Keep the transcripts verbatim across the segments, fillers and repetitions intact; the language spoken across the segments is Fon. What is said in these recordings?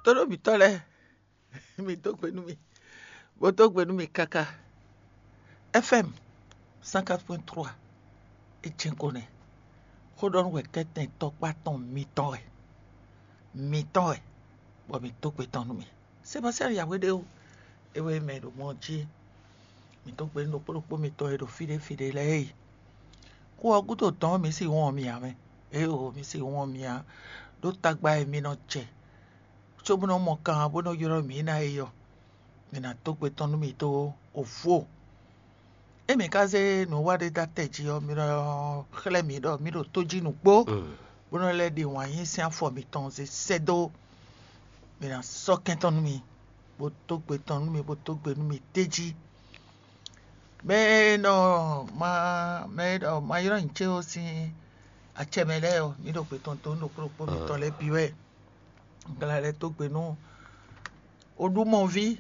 Tónú mǐtɔn lɛ́ɛ, mi dó gbe nú mì, bó dó gbe nú mì káká. F M cent quatre point trois, é jɛ́n ko nɛ́. Xó ɖɔ nú wɛ kɛ́tɛn tɔkpá tɔn mitɔn wɛ, mitɔn wɛ, bɔ mǐ dó gbe tɔn nú mì. Sebastiyani yǎwe ɖé o, é wɛ mɛ ɖo mɔ jí. Mǐ dó gbe nú ɖokpó ɖokpó mitɔn e ɖo fí ɖé fí ɖé lɛ́ɛ e. Xó ɔ́ gúdo dɔn mǐ sí wɔn mi ǎ mɛ. Éeǒ, mǐ sí wɔn mi ǎ, ɖó tagba e mi nɔ jɛ cóbó nɔ mɔ kan bó nɔ ylɔ́ mǐ ná é ɔ́, mǐ ná dó gbe tɔn nú mì dó vo. Ée mǐ ka zé nǔwiwa ɖé dó atɛ jí ɔ́, mi nɔ xlɛ́ mǐ ɖɔ mǐ ɖo tójí nǔgbó, bó nɔ lɛ́ ɖe wǎn yí sín afɔ mitɔn zé sɛ́ dó. Mǐ ná sɔ́ kɛn tɔn nú mi, bó dó gbe tɔn nú mi, bó dó gbe nú mi d'é jí. Mɛ e nɔ ma mɛ e nɔ ma ylɔ́ nyǐ ce ɔ́ sín acɛ mɛ lɛ́ɛ ɔ́, mǐ ɖo gbe tɔn dó nú ɖokpó ɖokpó mitɔn lɛ́ɛ bǐ wɛ. Un ka lɛ́ dó gbe nú Oɖumɔví,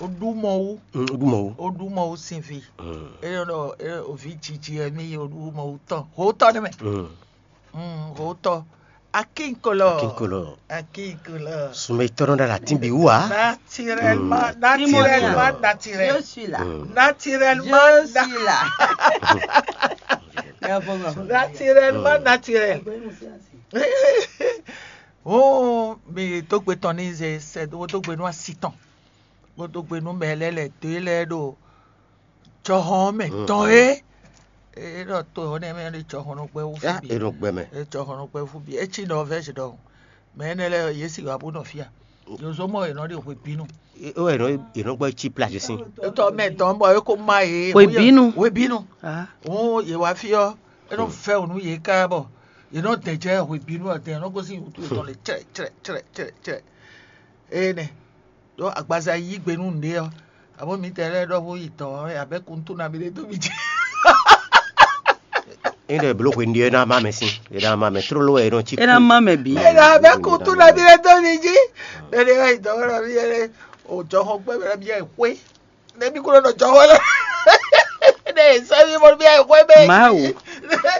Oɖumɔwú, Mm, Oɖumɔwú. Oɖumɔwú sín ví. Mm. É nɔ ɖɔ é, o vǐ jiji wɛ mì nyí Oɖumɔwú tɔn. Hǒtɔ nɛ́ mɛ. Mm. Mm, hǒtɔ. Akínkolɔ. Akínkolɔ. Akínkolɔ. Sumɛ tɔnɔ ɖe la tínbi wú a? Naturellement, Mm. Naturellement, naturel. Je suis là. Mm. Naturellement, Je suis là. Il y a un programme. Naturellement, Mm. Naturel. Ó, mi dó gbe tɔn ní zɛ sɛ dó dó gbe nú asi tɔn, bó dó gbe nú mɛ lɛ́ɛ lɛ̌ dó e lɛ́ɛ ɖo jɔhɔn mɛ Mm. tɔn é. É ɖɔ to ɔ́ nɛ́ mɛ ɖo jɔhɔn nɔ gbɛ wú fí Ya, bǐ. E nɔ gbɛ mɛ. É jɔhɔn nɔ gbɛ wú fí bǐ. É cí nɔ vɛ́ dɔn. Mɛ énɛ́ lɛ́ɛ yě sì wá bó nɔ fí a. Yǒzó mɔ yě nɔ ɖe hwe bínú. E, o yě nɔ yě nɔ gbɔ cí plage sín. Étɔ mɛ dɔn bɔ é ko má yě. Hwe bínú. Hwe bínú. Ah. Òun yě wá fí ɔ́, é nɔ vɛ́ wǔ nú yě ká bɔ yě nɔ dɛn jɛ hwe bínú ɔ́ dɛn nɔ gosín wútu yětɔn lě cɛ́ cɛ́ cɛ́ cɛ́ cɛ́. Énɛ́ ɖó agbaza yí gbe nú nǔɖé ɔ́, abó mǐtɛɛ lɛ́ɛ ɖɔhun yi dɔ̌n ɔ́, abɛ́ kuntú nabí ɖé dó mì jí. Ényí ɖɔ è blǒ hwenu ɖé é ná má mɛ sín, é ná má mɛ tlóló wɛ é nɔ cí. É ná má mɛ bǐ. Ényí ɖɔ abɛ́ kuntú nabí ɖé dó mì jí, ɖɛɖɛ wá yi dɔ̌n ɔ́ nabí ɛ o jɔhɔn gbɛ́ mɛ nabí ɛ xwé. Nɛbí kúrò nɔ jɔhɔn lɛ. Ne sɛbi bɔ bí ayé xɔɛ bɛ. Mawu.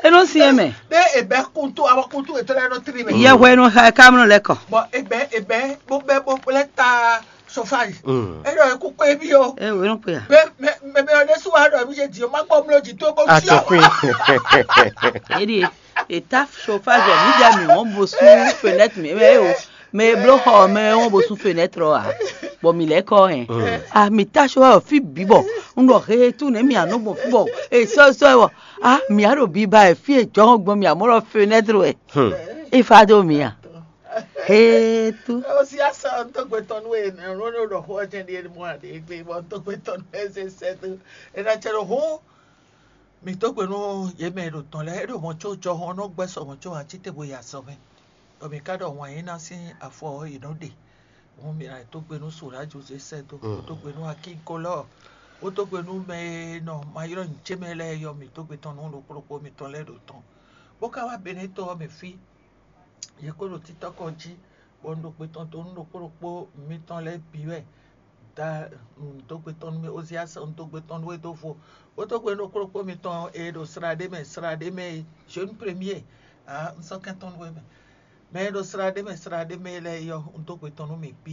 Enɔ si yɛ mɛ. Ne ebɛ kutu awɔ kutu etɔ lɛ nɔ tri mɛ. Yɛ hwɛ nɔ xa kamlɔ lɛ kɔ. Bɔn ebɛ ebɛ bó bɛ bó lɛ ta chauffage. Mm. Enɔ yɛ kú kpé bí o. E wo enɔ kpé ya. Bɛ mɛ mɛ mɛ ɔdɛ sún wa dɔ mi yé di o ma gbɔ mlɔ di tó bó A fi tɔ o. Kpé. Edi e ta chauffage mi dɛ mi wɔn bo sún fenêtre mi mɛ o. Mɛ e bló xɔ ɔ́ mɛ ɔ́ bó sú fenêtre ɔ́ ǎ, bɔ mǐ lɛ́ kɔ ɔ́ hɛn. A mǐ ta só wɛ fí bǐ bɔ un ɖɔ heetu nɛ̌ mǐ nɔ gbɔn fí bɔ è sɔ́ sɔ́ ɛ bɔ a mǐ á ɖo biba wɛ fí e jɔhɔn gbɔn mǐ á mɔ ɖɔ fenêtre wɛ. É fa dó mǐ a? Heetu. Ó sì á sá ɔ́ tó gbé tɔn nú e nɛ̌ ló ɖo ɖɔ xó ɔ́ jɛ́n ɖíe mɔ aɖě gbé bɔ tó gbé tɔn nú ɛ zé sɛ́ dó. É ná cɛ ɖo hǔn mǐ dó gbe nú yě mɛ e ɖo dɔ̌n lɛ́ɛ é ɖo mɔ̌ có jɔhɔn nɔ gbɛ́ sɔ mɔ̌ có ǎ cí te bo yi azɔ̌ mɛ. Bɔ mǐ ka ɖɔ wǎn yíná sín afɔ ɔ́ yě nɔ ɖe. Hǔn mǐ ná dó gbe nú Sǒlá Jozɛ́f sɛ́ dó, bó dó gbe nú Akíkolɔ́ɔ, bó dó gbe nú mɛ e nɔ ma ylɔ́ nyǐ ce mɛ lɛ́ɛ yɔ mǐ dó gbe tɔn nú ɖokpó ɖokpó mitɔn lɛ́ɛ ɖo tɔn. Bó ka wá Benɛ́to ɔ́ mɛ fí, yě kó ɖo títɔ́ kɔ jí, bɔ un ɖo gbe tɔn dó nú ɖokpó ɖokpó mitɔn lɛ́ɛ bǐ wɛ. Da un dó gbe tɔn nú mì Ozias, un dó gbe tɔn nú we dó vo, bó dó gbe nú ɖokpó ɖokpó mitɔn e ɖo slá ɖé mɛ, slá ɖé mɛ e jeune premier. Ah, un sɔ́ kɛn tɔn nú we mɛ. Mɛ e ɖo slá ɖé mɛ, slá ɖé mɛ lɛ́ɛ yɔ, un dó gbe tɔn nú mì bǐ.